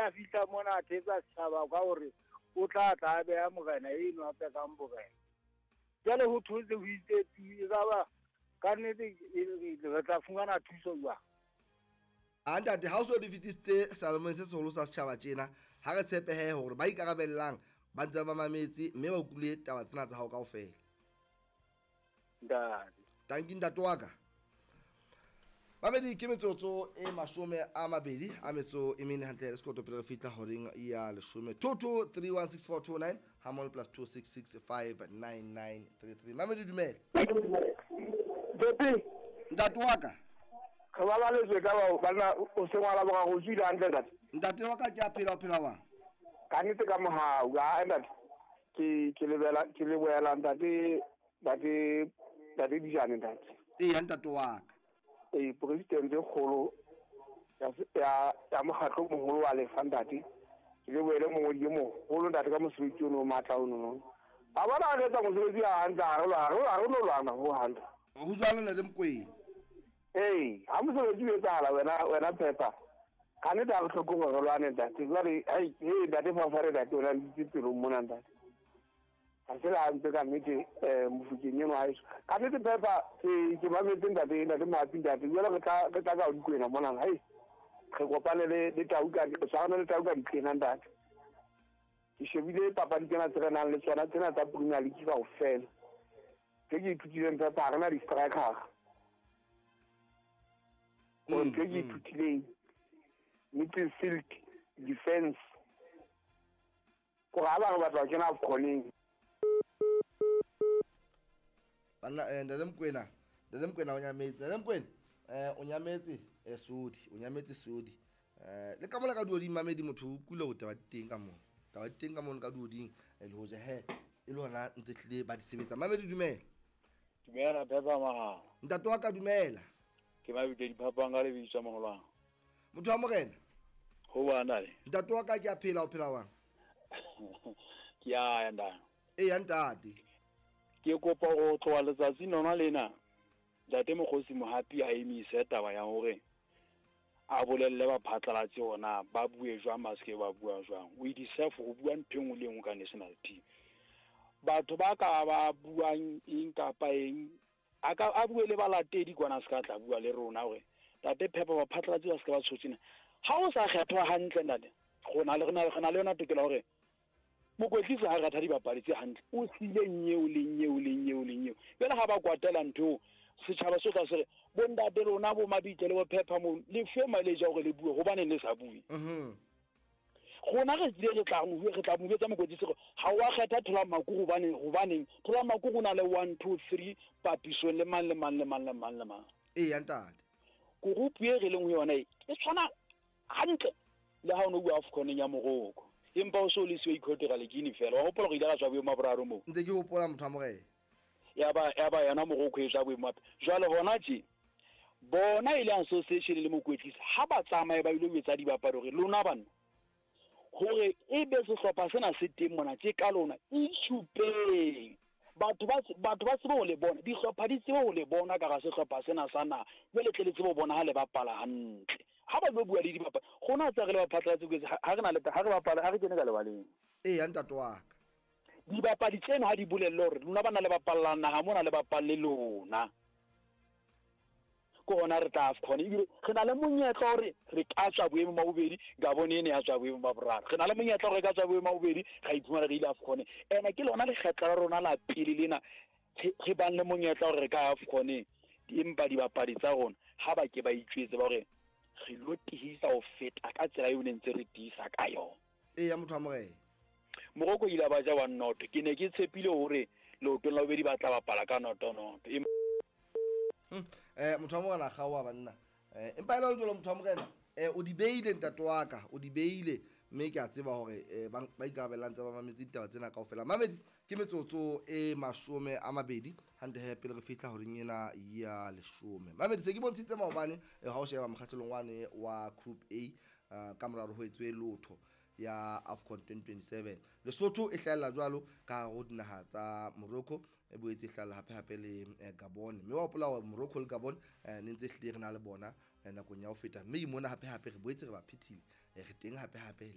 a fihla mona a thetsa setjhaba ka hore o tla tla a beha morena eno a tsekang borena. Jwale ho thotse ho itse tu, e ka ba ka nnete re tla fumana thuso jwang? A ntate, ha o so di fetisitse seyalemoyeng se seholo sa setjhaba tjena, ha re tshepehe hore ba ikarabellang ba ntse ba mametse mme ba utlwile taba tsena tsa hao kaofela. Ntate. Tanki ntate wa ka. Mamedi ke metsotso e 24 hantle le sekoto pele re fihla horeng ya 10. 22316429 ha mole plus 266599933. Mamedi dumela. Ntate. Ntate wa ka. Re ba baletswe ka ba banna o se ngwala boraro o tswile hantle ntate. Ntate wa ka ke a phela o phela wang? Ka nnete ka mohau, ha ntate. Ke lebela ke lebohela ntate ntate ntate Dijane ntate. Eya ntate wa ka. Ee, president e kgolo ya ya mokgatlo o moholo wa lefa ntate. Ke lebohele mongodi e moholo ntate ka mosebetsi ono o matla ono no. A bona re etsa mosebetsi a hantle ha re no lwana ho hantle. Ho jwalo ntate Mokwena. Ee, ha mosebetsi o etsahala wena Pepper. Ka nnete ha re hloke hore re lwane ntate. Jwale ai ntate Fafare ntate o na le ditse pelong mona ntate. Ha se le hantle ka nnete mofokeng eno haeso. Ka nnete Pepper ke mametse ntate ntate Mohapi ntate. Jwale re tla ka Dikwena mona hai. Re kopane le tau ka re tshwarane le tau ka ditlena ntate. Ke shebile papadi tsena tse re nang le tsona tsena tsa Premier League kaofela. Tse ke ithutileng Pepper ha re na di-striker. Gore ntho e ke ithutileng midfield defense gore ha ba re batla ho kena AFCON-eng. Banna ntate Mokwena, ntate Mokwena o nyametse, ntate Mokwena o nyametse sodi, o nyametse sodi. Le ka mona ka duoding mamedi motho o utlwile hore taba di teng ka mona. Taba di teng ka mona ka duoding le hoja he e le hona ntse hlile ba di sebetsa. Mamedi dumela. Dumela Pepper Mahao. Ntate wa ka dumela. Ke mabitso diphapang ka lebitso moholo. Motho wa morena. Ho bana le. Ntate wa ka ke a phela o phela wang? Ke a ya ntate. Eya ntate. Ke kopa ho tloha letsatsing lona lena ntate Mokgosi Mohapi a emise taba ya hore a bolelle ba phatlalatse hona ba bue jwang ba seke ba bua jwang. We deserve ho bua ntho e nngwe le e nngwe ka national team. Batho ba ka ba buang eng kapa eng a ka a bue le balatedi kwana se ka tla bua le rona hore ntate Pepper ba phatlalatse ba seke ba tshotsena. Ha o sa kgethwa hantle ntate, rona le rena le yona tokelo hore mokwetlisi ha ratha dibapadi tse hantle o siile nyeo le nyeo le nyeo le nyeo. Jwale ha ba kwatela ntho setjhaba se tla se re bo ntate rona bo Mabitso le bo Pepper mo le fe mileage ya hore le bue hobaneng le sa bue. Rona re tlile re tla mo re tla mo jwetsa mokwetlisi hore ha wa kgetha Thola Makuru hobaneng Thola Makuru o na le 1 2 3 papisong le mang le mang le mang le mang le mang. Eya ntate. Group e re leng ho yona e tshwana hantle le ha o no bua AFCON ya Morocco. Empa o so le siwa Equatorial Guinea fela. Wa hopola hore ile ra tswa boemo ba boraro moo. Ntse ke hopola motho wa morena. Ya ba yona Morocco e tswa boemo ba. Jwale hona tje bona e le association le mokwetlisi ha ba tsamaye ba ile ho etsa dibapadi hore lona banna hore e be sehlopha sena se teng mona tje ka lona itshupeng. Batho ba tsebe ho le bona, dihlopha di tsebe ho le bona ka ga sehlopha sena sa naha. Jwale tle le tsebe ho bona ha le bapala hantle. Ha ba lo bua le dibapadi, rona tsa re le ba phatlalatse ha re na le ha re bapala ha re kene ka lebaleng. Eya ntate wa ka. Dibapadi tseno ha di bolelle hore lona bana le bapallang naha mona le bapalle lona. Ke hona re tla AFCON ebile re na le monyetla hore re ka tswa boemong ba bobedi, Gabon ene ya tswa boemong ba boraro. Re na le monyetla hore re ka tswa boemong ba bobedi, ra iphumana re ile AFCON. Ena ke lona lekgetlo la rona la pele lena re bang le monyetla hore re ka AFCON. Empa dibapadi tsa rona ha ba ke ba itjwetse ba hore re lo tihisa ho feta ka tsela eo ne ntse re tiisa ka yona. Eya motho wa morena. Morocco ile ba ja 1-0. Ke ne ke tshepile hore leotong la bobedi ba tla bapala ka 0-0. Motho wa morena kgaoha banna. Empa e le jwalo motho wa morena, o di beile ntate wa ka, o di beile mme ke a tseba hore ba ikarabellang tsa ba mametse ditaba tsena kaofela. Mamedi ke metsotso e 20 hantle he pele re fihla horeng ena ya 10. Mamedi se ke bontshitse maobane ha o sheba mokgahlelong wane wa Group A ka mora hore ho etswe lotho ya AFCON 2027. Lesotho e hlahella jwalo ka hare ho dinaha tsa Morocco, e boetse e hlahella hape hape le Gabon. Mme wa hopola hore Morocco le Gabon ne ntse hlile re na le bona nakong ya ho feta. Mme mona hape hape re boetse re ba phethile, re teng hape hape.